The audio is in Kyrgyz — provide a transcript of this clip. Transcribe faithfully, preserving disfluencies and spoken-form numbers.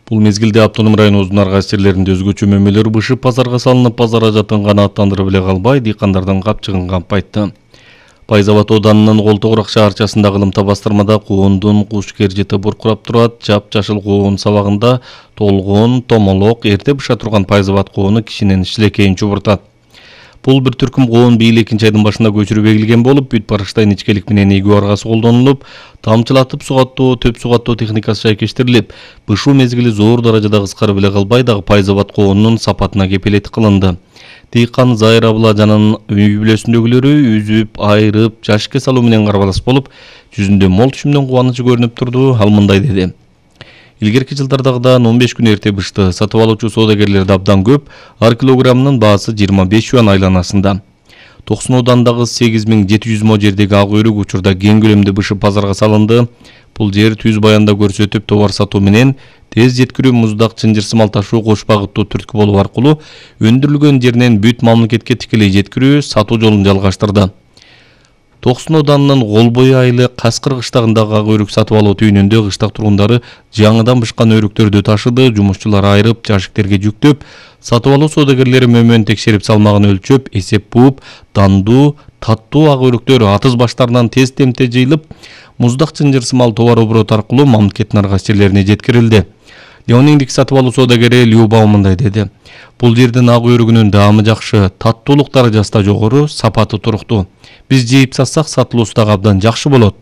Бул мезгилде автоном районубуздун ар кайсы жерлеринде өзгөчө мөмөлөр бышып базарга салынып, базар ажатын канааттандырып эле калбай, дыйкандардын капчыгын кампайтты. Пайыз абад ооданынын Колтогурак шаарчасындагы ылымта бастырмада коондун куш кержети буркурап турат. Жап-жашыл коон сабагында толгон, томолок, эрте быша турган пайыз абад коону кишинин шилекейин чубуртат. Бул бир түркүм коон быйыл экинчи айдын башында көчүрүп эгилген болуп, бүт барыштан ичкелик менен эгүү аргасы колдонулуп, тамчылатып сугаттоо, төп сугаттоо техникасы шайкештирилип, бышуу мезгили зор даражада кыскарып эле калбай, дагы пайыз абад коонунун сапатына кепилет кылынды. Дыйкан Зайыр Абыладжанын үй бүлөсүндөгүлөрү үзүп, айрып, жашыкка салуу менен карбалас болуп, жүзүндө мол түшүмдөн кубанычы көрүнүп турду. Ал мындай деди: Илгерки жылдардагыдан он беш күн эрте бышты. Сатып алуучу соодагерлер да абдан көп. Ар килограммынын баасы жыйырма беш юан айланасында. Токсон оодандагы сегиз миң жети жүз мо жердеги ак өйрүк учурда кең көлөмдө бышып базарга салынды. Бул жер түз баянда көрсөтүп, товар сатуу менен тез жеткирүү, муздак, чынжыр-сымал ташуу кош багыттуу түрткү болуу аркылуу өндүрүлгөн жеринен бүт мамлекетке тикелей жеткирүү, сатуу жолун жалгаштырды. Токсон ооданынын Кол бою айылы Каскыр кыштагындагы ак өйрүк сатып алуу түйүнүндө кыштак тургундары жаңыдан бышкан өйрүктөрдү ташыды. Жумушчулар айрып, жашиктерге жүктөп, сатып алуу соодагерлери мөмөнүн текшерип, салмагын өлчөп, эсеп бууп, дандуу, таттуу ак өйрүктөр атыз баштарынан тез темте жыйылып, муздак, чынжыр-сымал товар обороту аркылуу мамлекеттин ар кайсы жерлерине жеткирилди. Леониндик сатып алуу соодагери Люба мындай деди: Бул жердин ак өйрүгүнүн даамы жакшы, таттуулук даражасы да жогору, сапаты туруктуу. Биз жейип сатсак, сатылуусу дагы абдан жакшы болот.